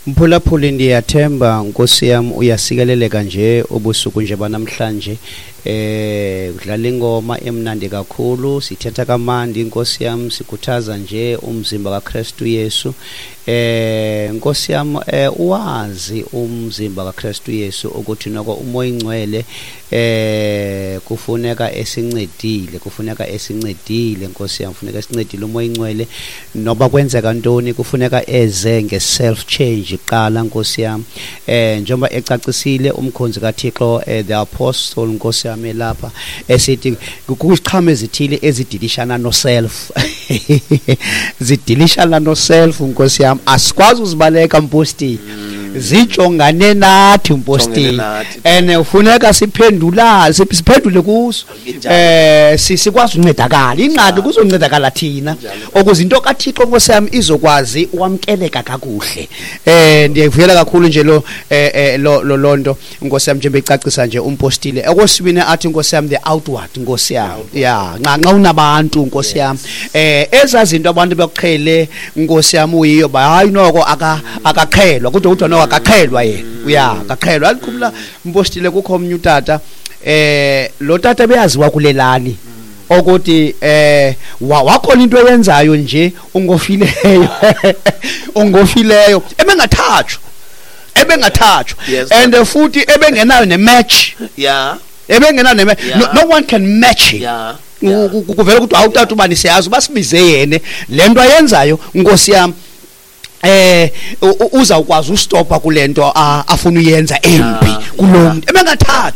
Mphulaphuli, ndiyathemba, nkosi yam, uyasikeleleka nje ubusuku nje banamhlanje. Kudlala ingoma emnandi kakhulu, sithetha kamandi, nkosi yam, sikhuthaza nje umzimba kaKristu Yesu. Nkosi yam, uwazi umzimba kaKristu Yesu ukuthi noko uMoya Ingcwele kufuneka esincedile, kufuneka esincedile, nkosi yam, kufuneka esincedile uMoya Ingcwele. Noba kwenzeka ntoni, kufuneka eze nge-self change qala, nkosi yam. Njengoba ecacisile umkhonzi kaThixo, the apostle, nkosi yam, elapha esithi kukho iziqhamo ezithile ezidilishana no-self, zidilishana no-self, nkosi yam. Asikwazi uzibaleka, mpostile, zijongane nathi, mpostile. Nathi. And ufuneka siphendula, siphendule kuso. Injalo. Sikwazi uncedakala. Ingxaki kuzoncedakala thina ukuze into kaThixo, nkosi yam, izokwazi ukwamkeleka kakuhle. Ndiyavuyela kakhulu nje lo eh, eh lo lo lonto, nkosi yam, njengoba ecacisa nje umpostile. Okwesibini athi, nkosi yam, the outward, nkosi yam, ya, nxa unabantu, nkosi yam, ezazinto abantu bekuqhele, nkosi yam, uyiyo ba hayi noko akaqhelwa kodwa kuthiwa noko akaqhelwa yena, uya akaqhelwa. Alikhumla, mpostile, kukho omnye utata, lo tata beyaziwa kulelali ukuthi wakhona into eyenzayo nje, ungofileyo, ungofileyo, ebengathathwa, ebengathathwa. And futhi ebengenayo ne-match. Ebengenayo ne no, no one can match him. Kuvela ukuthi awutata ubani, siyazi basibize yene le nto ayenzayo, nkosi yam, uzawukwazi ustopa kulento afuna uyenza embi kulo muntu ebengathathwa.